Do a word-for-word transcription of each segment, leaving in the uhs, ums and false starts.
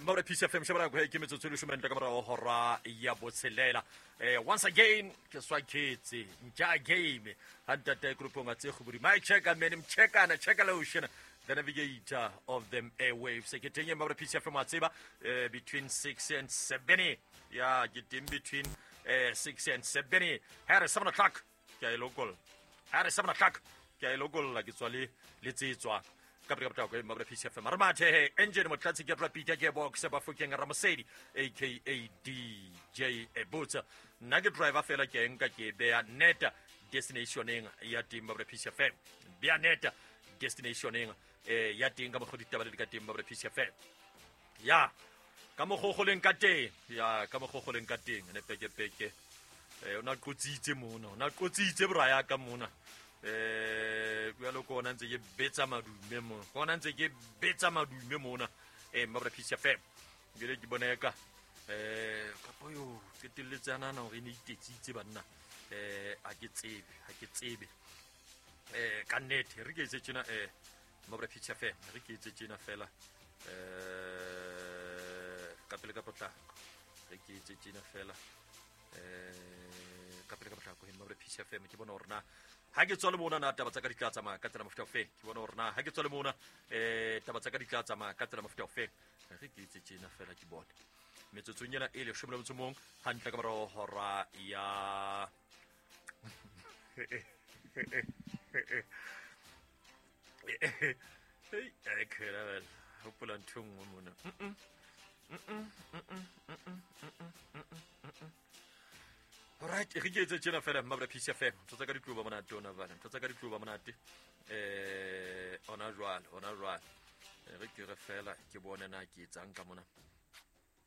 Maure P C F M shebana go ke metsotso le shumenta ka morago hora ya botshelela. Eh once again ke swaketse nja game hantate groupong tse gobodi my check and men check ana check lotion the navigator of them airwaves ke teng Maure P C F M wa tseba between six and seven ya ke teng between eh six and seven ha re seven o'clock ke a local ha re seven o'clock ke a local la ke tswa le le tsetswa ka pele ka potlako Maure P C F M re mathe engine motlatsi ke Peter Gearbox ba fokeng Ramosedi aka D J Ebutsa nna ke driver fela ke nka ke beya neta destinationeng ya teng Maure P C F M beya neta destinationeng eh ya teng ka mokgwa ditaba le ka teng Maure P C F M ya ka mokgogoleng ka teng ya ka mokgogoleng ka teng ne peke peke eh ona qotsitse mona ona qotsitse braya ka mona eh jalo ko ona ntse ke betsa madume mona ko ona ntse ke betsa madume mona eh Maure P C F M ngile ke boneka eh kapo yo qetelletse ana na hore ne itetsitse banna eh a ke tsebe ha ke tsebe eh ka nnete re ke etse tjena eh Maure P C F M re ke etse tjena fela eh ka pele ka potlako re ke etse tjena fela eh ka pele ka potlako he Maure P C F M ke bona hore na ha ke tswa le mona na taba tsa ka di tla tsamaya ka tsela mofuta ofe ke bona hore na ha ke tswa le mona eh taba tsa ka di tla tsamaya ka tsela mofuta ofe re ke etse tjena fela ke bone metsotsong ena e leshome le motso mong hantle ka morao hora ya hey e khela bela hopola ntho nngwe mona alright re ke etse tjena fela Maure P C F M ntho tsa ka di tloba monate ona bana ntho tsa ka di tloba monate eh ona jwale ona jwale re ke re fela ke bone na ke etsang ka mona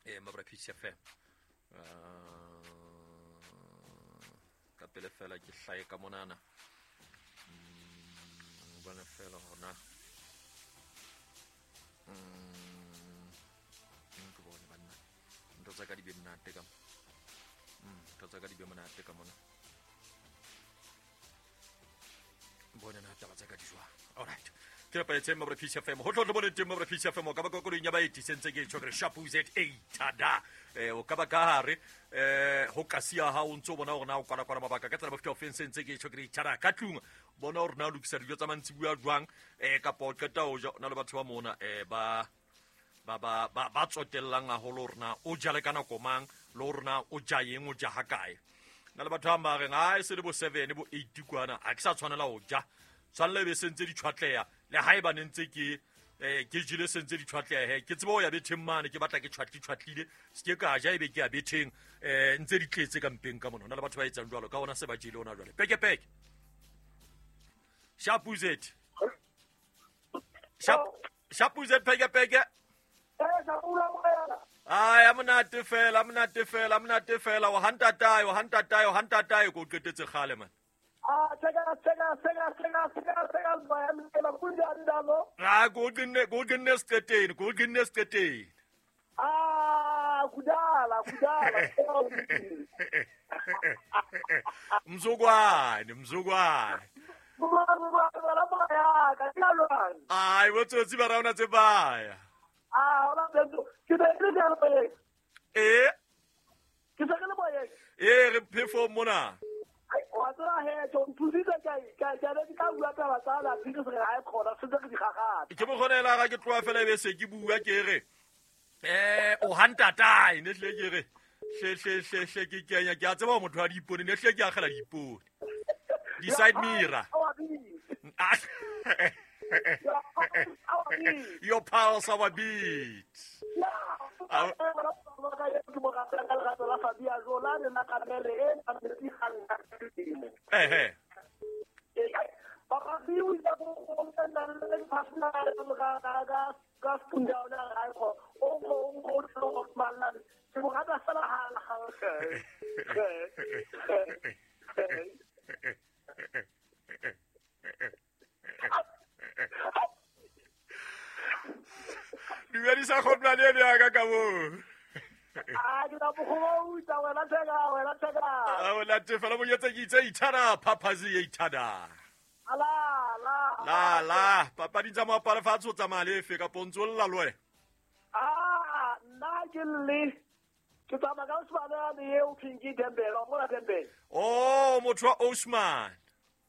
eh Maure P C F M ka pele fela ke hlae ka monana bona fela hona mm ke bone banna ntho tsa ka di be monate ka ntho tsa ka di be monate ka mona bone na taba tsa ka di jwang alright ke rapetse Maure P C F M ho tlo bone teng Maure P C F M ka ba koloing ya baeti sentse ke tjho re sharp Z A tada eh o ka ba ka hare eh ho kasia ha o ntso bona hore na o kwala kwala mabaka ka tsela mofuta ofeng sentse ke tjho re tada ka tlung bona hore na o lokisa dijo tsa mantsibuya jwang eh kapa o qeta ho ja na le batho ba mona eh ba ba ba ba tsotellang haholo hore na o jale ka nako mang le hore na o ja eng o ja ha kae na le batho ba ba reng ha e se le bo seven bo eight kwana ha ke sa tshwanela ho ja tshwanela be sentse di tshwatleha le haeba ne ntse ke eh ke jile sentse di tshwatleha he ke tsebe ho ya betheng mane ke batla ke tshwatli tshwatlile se ke ka ja ebe ke ya betheng eh ntse di tletse ka mpeng ka mona na le batho ba etsang jwalo ka ona se ba jele ona jwale peke peke Shapuzet Shap Shapuzet peke peke Ay amonate fela amonate fela amonate fela o hantatae o hantatae o hantatae ko qetetse kgale man. Ah tsheka tsheka tsheka tsheka tsheka tsheka ba kunjani ndalo Ah go qinne go qinne siqeteni go qinne siqeteni. Ah kudala kudala Mzukwane mzukwane Ai botsotsi ba raona tse baya. Ah ona ke ke le Eh ke se le boye. Eh re perform mona. Wa tseba he tso nthusitse ka ka ka be ka bua taba tsa la ke se ga e khona se ke di gagata. Ke mo kgonela ga ke tloa fela be se ke bua ke re eh o hantatae ne hle ke re hle hle hle hle ke kenya ke a tseba motho wa diipone ne hle ke akgela diipone. Di side mirror. Your pulse our beat. Eh eh. Dumedisa kgotlane ya ka ka mo. Ah ke tla bogouta wena tsheka wena tsheka. Ah wena tefela mo yetsa ke itse ithana phaphazi e ithana. Ala la la la papadi tsa moaparo fatshe o tsamaya le efe ka pontso lla le wena. Ah nna ke le ke tsamaya ka Osman le eo thweng ke Dembele wa mona Dembele. Oh, motho wa Osman.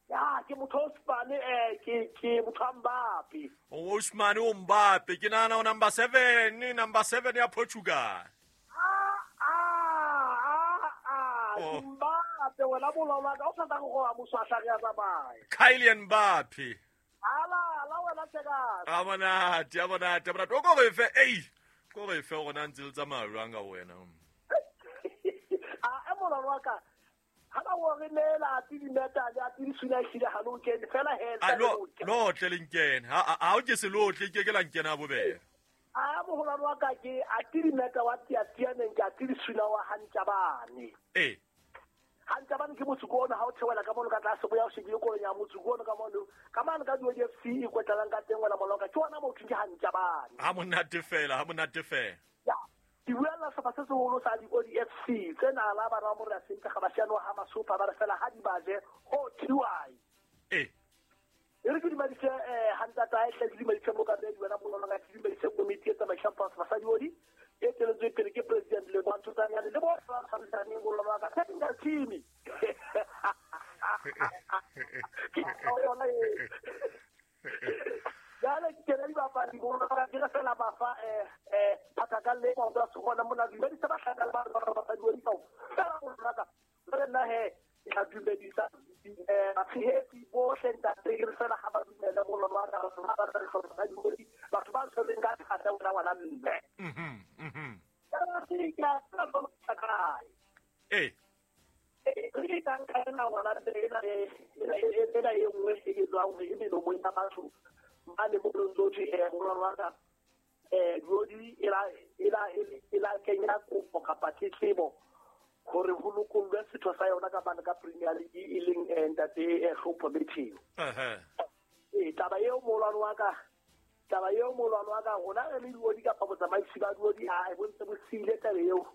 Ya ke motho Osman eh ke ke motho wa Mbappe. O Osman o Mbappe ke nana o number seven, number seven ya Portugal. Ah ah ah ah Oh. Mbappe wena bololwa ka o sa tla go go moswahla re ya tsamaya. Kylian Mbappe. Ala la wena tshekana. A monate, a monate, a monate. O ko re fe, ei. Ko re fe hore na ntse le tsamaya jwang ka wena. A e mololo wa ka. Ha ba o re neela tse dimeta le tse di suna hlile ha lo kene fela he A lo lo tle le nkene. Ha ha o ke se lo tle ke ke la nkena bobebe. A mogolwane wa ka ke a tse dimeta wa tiatianeng ke a tse di suna wa Hantshabane. Eh. Hantshabane ke motsuko ona ha o theohela ka mono ka tlase bo ya o shebile koloi ya motsuko ona ka mono. Ka mane ka D F C e kwetlang ka teng wena mololo ka ke ona motho ke Hantshabane. Ha monate fela, ha monate fela. Ya. Ke buella sehlopha se seholo sa di F C tsena la bana ba morena sentle ga ba siano ha masopa ba re fela ha di baje ho T Y. Eh. E re ke dumedise eh hantata e tle ke dumedise mokamedi wena mololo ka ke dumedise komiti e tsamaisang sehlopha sa diodi e teletswe pele ke president le Bantu Tsanyane le bo ba tshwarisaneng mololo ka technical team. Ke yona e. Jale ke le dibapadi mololo ka ke re fela ba fa eh eh phathaka le go tsa gona mona dumedisa bahlaka le ba ba ba diodi ka fela mololo ka re nna he ke tla dumedisa eh batshehetsi bohle ntate ke re fela ha ba dumela mololo wa ka ba ba re hloka diodi batho ba tshwereng ka thata wena ngwana mme. Mhm mhm. Eh. Eh. Re ka nka ena ngwana ena ena e nngwe e ke tswang e melomong ya batho mane mo ntse eh mololo wa ka eh diodi e la e la e la kenya kopo kapa tletlebo hore ho lokollwe setho sa yona ka bana ka Premier League e leng ntate Hlompho Matthew. Eh eh taba eo molwane wa ka taba eo molwane wa ka rona re le diodi kapa botsamaisi ba diodi ha e bontse bo siile taba eo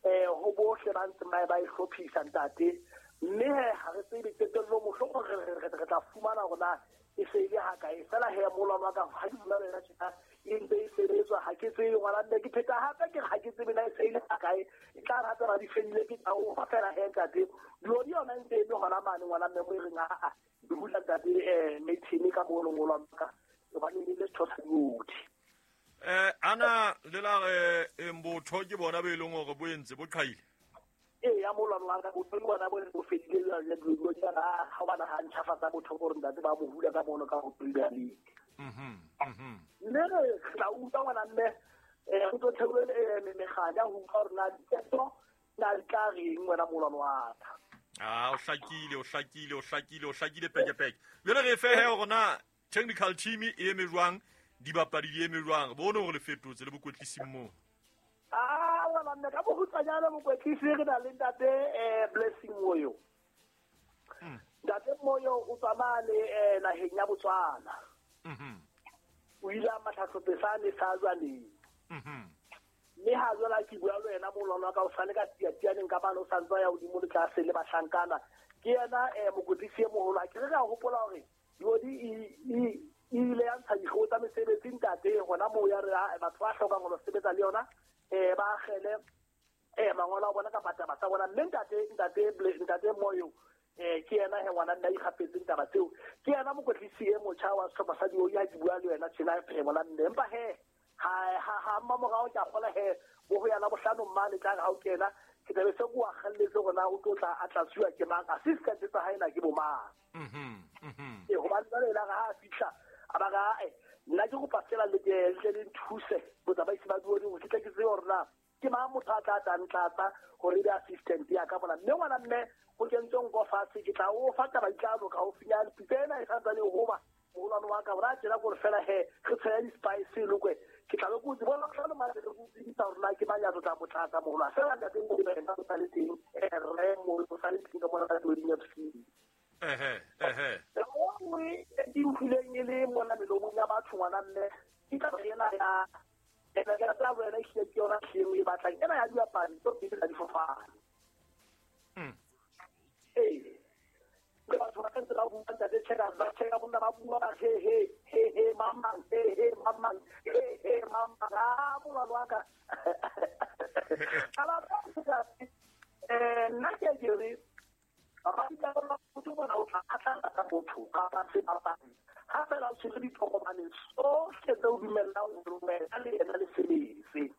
eh ho bohle ba ntse ba e hlophisa ntate mme ha re tsebe qetello mohlomong re re re tla fumana rona e se ile ha kae fela he molwane wa ka ha ke bua le yena tjena e ntse e sebetswa ha ke tsebe ngwana mme ke pheta hape ke ha ke tsebe na e se ile ha kae e tla rata ra di fedile ke tla o fa fela he ntate diodi yona ntse e le hona mane ngwana mme mo e reng a a di hula ntate eh meeting ka mo ngolwa ka hobane le setho sa diodi. Eh ana le la re mbotho ke bona be leng hore bo entse bo qhaile. Eh ya molwane wa ka botho ke bona bo bo fedile le diodi ha ha bana ha ntjhafatsa botho gore ntate ba mo hula ka mono ka ho Premier League. Mhm mhm. Mme re tla utlwa ngwana mme eh go tlo theola meganya ho utlwa hore na diketo na di tla reng wena molwane wa ka. Ah o hlakile o hlakile o hlakile o hlakile peke peke. Jwale re fe he hore na technical team e eme jwang dibapadi di eme jwang bone hore le fetotse le bokwetlisi moo. Ah wena mme ka bokgutswanyane mokwetlisi re na le ntate eh Blessing Moyo. Ntate Moyo o tswa mane eh naheng ya Botswana. Mhm. O ile a matha sehlopha sa jwaleng. Mhm. Mme ha jwale ke bua le wena mololo wa ka o sale ka tiatianeng ka bana o sa ntse ya hodimo le tlase le bahlankana. Ke yena eh mokwetlisi e moholo a ke re ka hopola hore diodi e e ile ya ntsha dikgeo tsa mesebetsi ntate hona moo ya re batho ba hlokang ho sebetsa le yona eh ba akgele eh mangolo a bona kapa taba tsa bona mme ntate ntate ntate Moyo eh ke yena he ngwana nna ikgapetseng taba tseo ke yena mokwetlisi e motjha wa sehlopha sa diodi ha ke bua le wena tjena e ngwana mme empa he ha ha ha mmamorao ke a kgola he bo ho yana bohlano mmane tla re ha o kena ke tlabe se ko akgelletse hore na o tlo tla a tlatsuwa ke mang assistant tsa hae na ke bo mang. Mhm mhm. Eh hobane jwale la ha a fihla a ba ga eh nna ke kopa fela le ke le le nthuse botsamaisi ba diodi hore ke tle ke tsebe hore na ke mang motho a tla tla ntlatsa hore e be assistant ya ka mona mme ngwana mme go kentswe nko fatshe ke tla o fa taba di tla loka haufinyane pitsa ena e santsane e hoba mogolwane wa ka gore a tjena kore fela he re tshela di-spice lokwe ke tla be ke o tsebona tlhano mane re go tsebisa hore na ke mang ya tlo tla mo tlatsa mogolo fela ntate mo ena o sa le teng rre mo o sa le teng ka mona ka dioding ya F C. Ehe ehe. Nngwe e ke utlwileng e le mona melomong ya batho ngwana mme ke taba ena ya ena ke rata wena ehlile ke yona hleng e batlang ena ya dibapadi tso pele tsa difofane. Mm. Ee. Le batho ba ntse ba bua ntate Checkers, ba checka bonna ba bua ba he he he he mamang he he mamang he he mamang a molwano wa ka. Ala eh nna ke ke re papadi tsa rona motho bona o tla phatlalatsa motho kapa sebapadi ha fela o tshwere ditokomane tsohle tse o dumellang hore wena le yena le sebetse.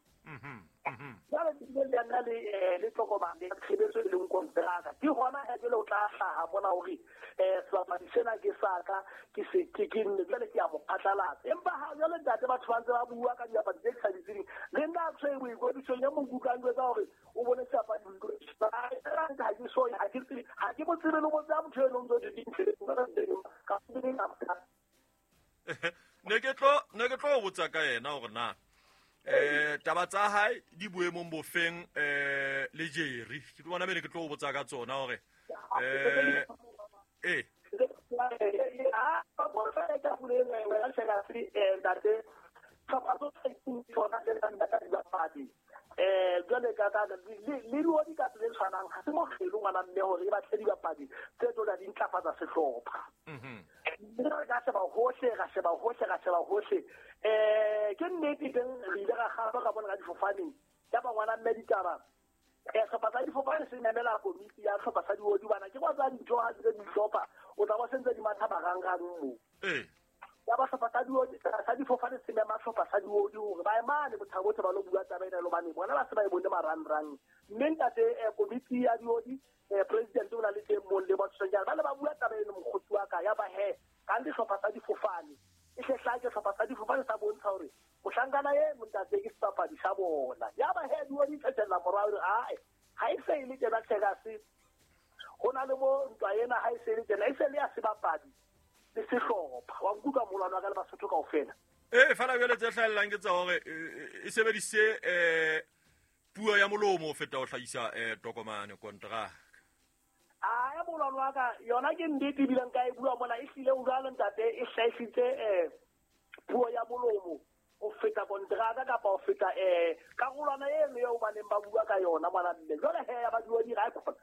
Jwale le yena le le tokomane ya tshebetso e leng konteraka ke hona he jwale o tla hlaha mona hore eh sebapadi sena ke sa ka ke se ke ke nne jwale ke a mo phatlalatsa. Empa ha jwale ntate batho ba ntse ba bua ka dibapadi tse ke sa di tsebeng le nna tshwere boikwetlisong ya mo nkutlwang jwetsa hore o bone sebapadi ha ke so ha ke tsebe ha ke mo tsebe le mo tseba motho eno ntse di ka ne ke tlo ne ke tlo botsa ka yena hore na eh taba tsa hae di boemong bofeng eh le Jerry ke bona bene ke tlo botsa ka tsona hore eh eh a bo fa ka pule wena Checkers ntate tlhopha tsohle tsona tse nang le dibapadi eh jwale ka ka le le di ka tse tshwanang ha se mokgelo ngwana mme hore e batle dibapadi tse tlo di ntlafatsa sehlopha. Mhm. Re ka sheba hohle ra sheba hohle ra sheba hohle eh ke nnete teng re ile ra kgaba ka bona ka difofaneng ya ba ngwana mme ditaba eh sehlopha sa difofane se memela komiti ya sehlopha sa diodi bana ke kwa tsa dintho ha di dihlopha o tla ba sentse di matha marangrang mo eh ya ba sehlopha sa diodi sa difofane se mema sehlopha sa diodi hore ba emane bothabo ba lo bua taba ena lo bane bona ba se ba e bone marangrang mme ntate komiti ya diodi president o na le teng mong le batho jana ba le ba bua taba eno mokgotsi wa ka ya ba he ka ndi sehlopha sa difofane e hle ke sehlopha sa difofane sa bontsha hore mohlankana e montate ke sebapadi sa bona ya ba he diodi thetella morao hore ae ha e se e le tjena Checkers ho na le mo ntwa ena ha e se le tjena e se le ya sebapadi le sehlopha wa nkutlwa molwano wa ka le Basotho kaofela. Eh fela jwale tse hlahellang ke tsa hore e sebedise eh puo ya molomo ho feta ho hlahisa eh tokomane kontraka. A ya molwano wa ka yona ke nnete ebileng ka e bua mona e hlile o jwalo ntate e hlahisitse eh puo ya molomo ho feta kontraka kapa ho feta eh karolwana eno eo ba neng ba bua ka yona ngwana mme jwale he ya ba diodi ra khona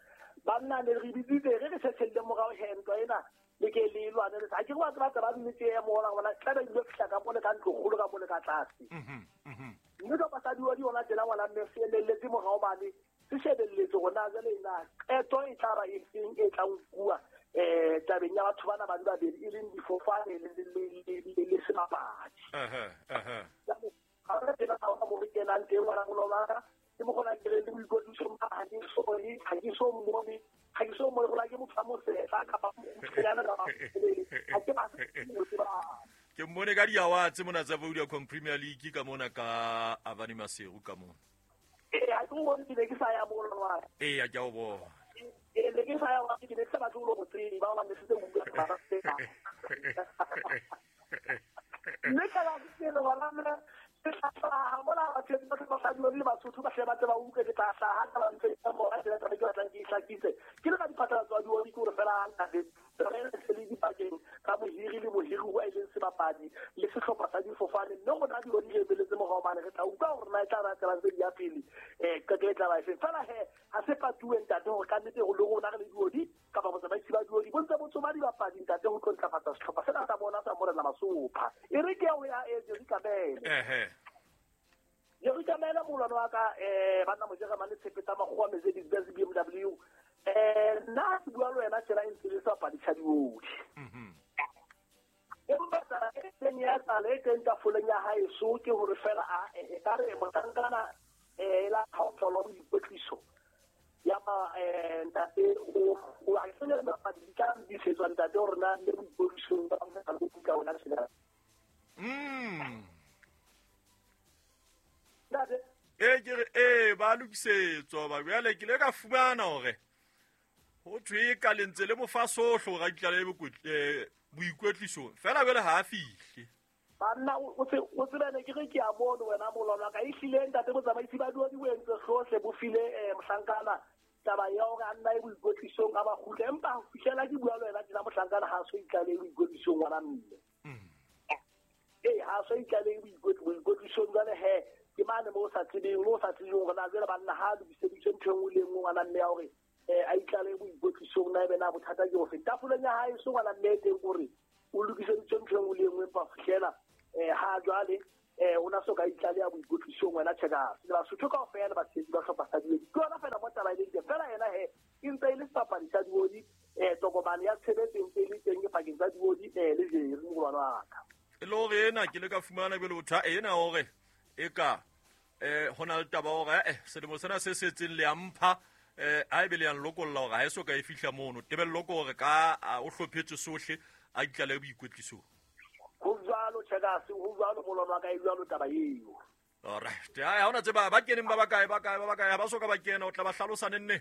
banna ne re bitsitse re re tshethelle morao he ntwa ena le ke le lwane le ha ke re ba tseba ba nnete ya mola ngwana tla ba ile fihla ka mole ka ntlo kgolo ka mole ka tlase. Mhm mhm. Mme ka sa diodi yona tsela ngwana mme se elelletse morao bane se shebelletse rona jwale ena qeto e tla ba e feng e tla nkuwa eh tabeng ya batho bana ba di babedi e leng difofane le le le sebapadi. Aha aha. Ha re tsena ha mo re kenang teng ngwana molwana ke mo gona ke re le boikwetliso ha ke so ha ke so mmone ha ke so mmone gore ke motho a mosetla kapa mokgutshwanyane kapa ha ke ba se ke mmone ka diawa tse mona tsa Vodacom Premier League ka mona ka Avani Maseru ka mona. Eh ha ke o bone ke ne ke sa ya molwana. Eh ke a o bona. Eh ne ke sa ya ke ne ke sa batle ho tseba ba ne se bua ka ba. Mme ka la ke le bona nna ke tla hlaha mola batho ba ba sa le Basotho ba hle ba tseba utlwe ke tla hlaha ka ba ntse ka mo ba tsela taba ke batlang ke ihlakise ke le ka diphatlalatso tsa diodi ke hore fela ntate re se le dipakeng ka mohiri le mohiri wa e leng sebapadi le sehlopha sa difofane mme rona diodi re ebeletse morao mane re tla utlwa hore na e tla ba tsela tse di ya pele eh qeto e tla ba efe fela he ha se patuwe ntate hore ka nnete ho le rona re le diodi kapa botsamaisi ba diodi bo ntse bo tsoma dibapadi ntate ho tlo ntlafatsa sehlopha sena sa bona sa Morena Masopha e re ke ya ho ya e Jerry Kamele. Ehe. Jerry Kamele molwano wa ka eh banna Mojeremane tshepe tsa makgowa Mercedes Benz B M W eh nna ke bua le wena tjena e ntse le sebapadi sa diodi. Mhm. Empa taba e teng ya tsala e teng tafoleng ya haeso ke hore fela a e ka re mohlankana eh la kgaotlo boikwetliso ya ba eh ntate o o a tsene dibapadi di tla disetswa ntate hore na le boikwetlisong ba ka go kuka ona tshela. Mm. Ntate eh ke re eh ba lokisetswa ba jwale ke le ka fumana hore ho thwe ka lentse le mofa sohle hore a itlale eh boikwetlisong fela jwale ha a fihle. Banna o se o tsebane ke re ke a bone wena molwana ka ehlile ntate botsamaisi ba diodi bo entse hlohle bo file eh mohlankana taba ya hore a nna e boikwetlisong a ba kgutle empa ho fihlela ke bua le wena tjena mohlankana ha so itlale boikwetlisong ngwana mme. Eh ha so itlale boikwetlisong jwale he ke mane mo sa tsebeng mo sa tsebeng hore na jwale banna ha lokiseditswe ntho e nngwe le e nngwe ngwana mme ya hore um a itlale boikwetlisong na ebe na bothata ke ofe tafoleng ya hae so ngwana mme teng kore o lokiseditswe ntho e nngwe le e nngwe empa fihlela um ha jwale um o na so ka itlale ya boikwetlisong wena Checkers le Basotho kaofela batshehetsi ba hlopha sa Diodi ke yona fela mo taba e leng teng fela yena he e ntse e le sebapadi sa Diodi um tokomane ya tshebetso e ntse e le teng pakeng tsa Diodi um le Jerry mogolwane wa ka e le hore ena ke le ka fumana jwale botha ena hore e ka um ho na le taba hore eh selemo sena se setseng le a mpha um ha ebe le yang lokolla hore ha e so ka e fihla mono tebello ke hore ka o hlophetswe sohle a itlale boikwetlisong ho jwalo Checkers ho jwalo molwana wa ka e jwalo taba eo. Alright ha hona tseba ba keneng ba bakae ba kae ba bakae ha ba so ka ba kena o tla ba hlalosa nenne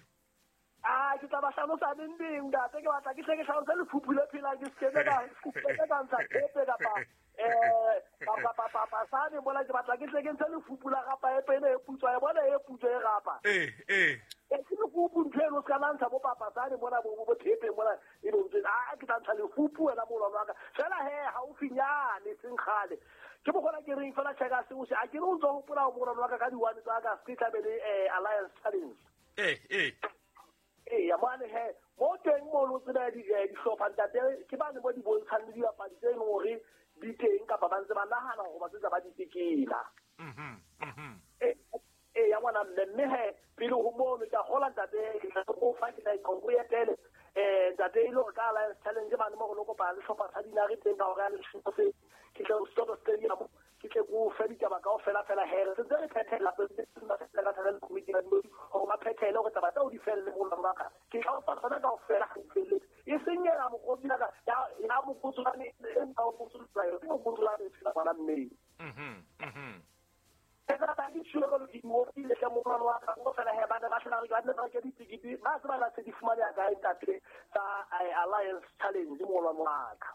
a ke tla ba hlalosa neng neng ntate ke batla ke hle ke hlalose lephuphu le phelang ke sekebe ka ke ka ntsha tshepe kapa eh kapa papa sane mola ke batla ke hle ke ntshe lefupu la rapa e pene e putswa e bona e putswa e rapa eh eh e ke lefupu ntho eno se ka la ntsha bo papa sane mona bo bo thepe mona e bo ntse a ke tla ntsha lefupu wena molwana wa ka fela he haufinyane seng kgale ke bogola ke reng fela Checkers o se a ke re o ntse o hopola ho molwana wa ka ka di-one tsa ka se tlabe le Alliance Challenge eh eh eya mane he mo teng mono tsena dihlopha ntate ke bane mo di bontshang le dibapadi tse leng hore di teng kapa ba ntse ba nahana hore ba sentse ba di tekela. Eya ngwana mme mme he pele ho mono ke a kgola ntate ke tla o fa ke tla o etele um ntate e le hore ka Alliance Challenge mane mo re lo kopana le hlopha sa Dinare teng ka hore ya leshome se ke tle Stop Stadium ke tle ko fe ditaba kaofela fela he re sentse re phethela ka thata le komiti ya Diodi hore ba phethele hore taba tseo di felle molwana wa ka ke tla o fa tsona kaofela ha di felletse e seng ena mokgotsi ya ka ya mokgotsolane e nka o mokgotsolane ke mokgotsolane fela ngwana mme. Ke ke molwana wa ka go fela he ba ne ba tlhola re ba ne ba reke ditekete ba tseba la se di fumaneha kae ntate tsa Alliance Challenge molwana wa ka.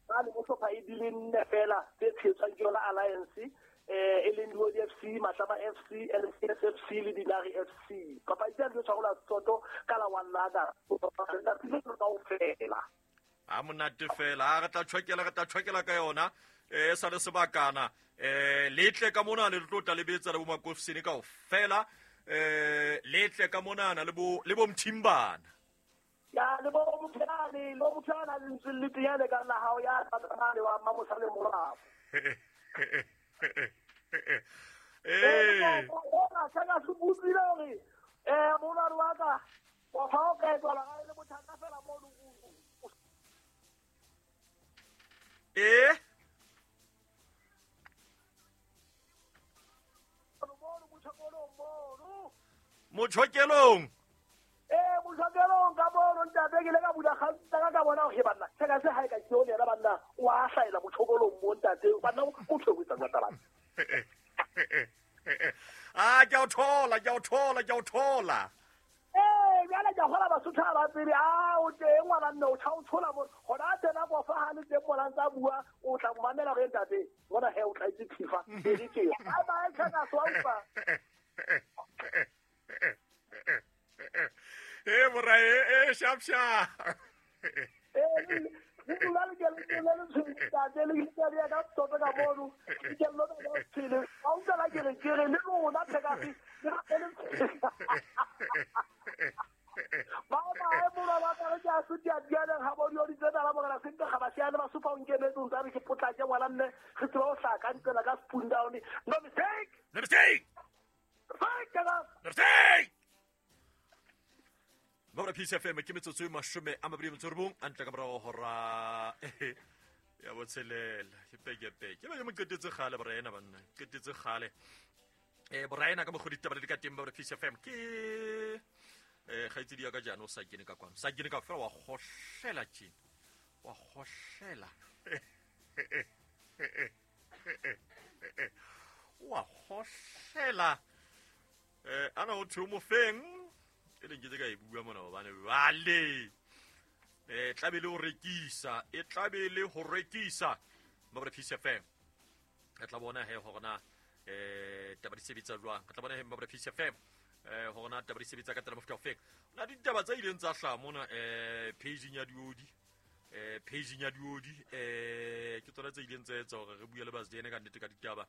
Ba le mohlopha e di le nne fela tse tshehetswang ke yona Alliance eh e leng Diodi F C, Matlama F C, L C S F C le Dinare F C. Papadi tsena di tshwarelwa Soto ka la one la kaofela. A monate fela ha re tla tjhokela re tla tjhokela ka yona eh sa le sebakana eh letle ka mona le tlo tla lebetsa le bo Makofsini kaofela eh letle ka mona le bo le bo Mthimbana ya le bo Motshane le bo Motshane le ntse le tiyane ka la hao ya tsamane wa Mamosale morao. Eh o ka se butsile hore eh molwana wa ka wa fa o ka etsa la le bothata fela mo eh Mochokelong eh mochokelong ka bono ntate ke le ka bula kgantsa ka bona hore banna Checkers ha e ka ke yona banna wa hlaela mochokolong mo ntate banna o thobetsa jwa taba. Ah ke a thola ke a thola ke a thola eh jwale ke hola Basotho ba tsebe a o teng ngwana nne o tla o thola mo hona tsena go fa ha le teng mona ntsa bua o tla mo mamela re ntate bona he o tla itse phifa e le teng bye bye Checkers wa utlwa. Eh bora eh sharp sharp eh le le ke le le ntate le ke le ka toto ka mono ke lo ka tshele a utlwa la ke re ke re le lona Checkers le le ba ba e mora ba ka re ke a sutia diana ha bo di tsena la bona se ga ba siana ba supa o nkemetse o ntse re ke potlake ngwana mme re tseba o hlaka ntsela ka spoon down no mistake no mistake no mistake. Mora Peace F M ke metsotso e mashome a mabedi metso robong a ntle ka morao hora ya botshelela ke peke peke ba ke mo qetetse kgale boraena banna qetetse kgale eh boraena ka mokgwa ditaba le ka teng ba Peace F M ke eh kgaitsedi ya ka jaana o sa kene ka kwano sa kene ka fela wa kgohlela tjena wa kgohlela wa kgohlela eh ana o thwe mo feng e leng ke tse ka e bua mona hobane jwale eh tlabe le ho rekisa e tlabe le ho rekisa ba Peace F M re tla bona he hore na eh taba di sebetsa jwang re tla bona he ba Peace F M eh hore na taba di sebetsa ka tsela mofuta ofe na ditaba tsa ileng tsa hlaha mona eh page ya Diodi eh pageng ya diodi eh ke tsona tse ileng tsa etsa hore re bue le Basdene ka nnete ka ditaba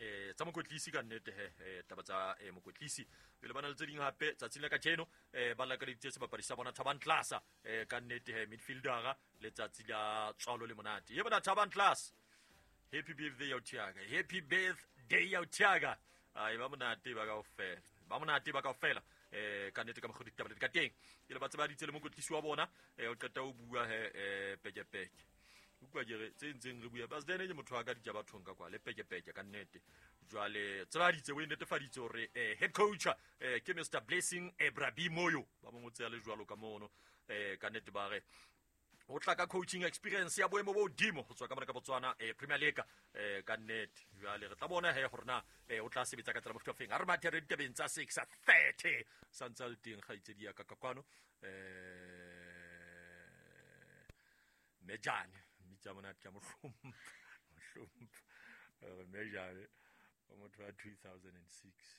eh tsa mokwetlisi ka nnete he eh, taba tsa eh, mokwetlisi pele ba na le tse ding hape tsatsing la kajeno eh ba lakaleditse sebapadi sa bona Thabang Tlasa eh ka nnete he midfieldera letsatsi la tswalo le monate ye bona Thabang Tlasa. Happy birthday ya Thiaga, happy birthday ya Thiaga. Ai ba monate ba kaofela, ba monate ba kaofela eh ka nnete ka mokgwa ditaba ka teng ke le ba tsebaditse le mokwetlisi wa bona eh o qeta o bua he eh pekepeke utlwa ke re tse ntseng re bua Basdene ke motho wa ka ditaba bathong ka kwa le pekepeke ka nnete jwale tsebaditse o netefaditse hore eh head coach eh ke Mister Blessing Ebrabimoyo ba mo ngotse ya le jwalo ka mono eh ka nnete ba re o tla ka coaching experience ya boemo bo hodimo ho tswa ka mona ka Botswana eh Premier League eh ka nnete jwale re tla bona he hore na eh o tla sebetsa ka tsela mofuta ofeng. Ha re mathe re ditabeng tsa six thirty santse a le teng kgaitsedi ya ka ka kwano eh Mejane mmitsa monate ka mohlompha mohlompha mejane wa motho wa two thousand six.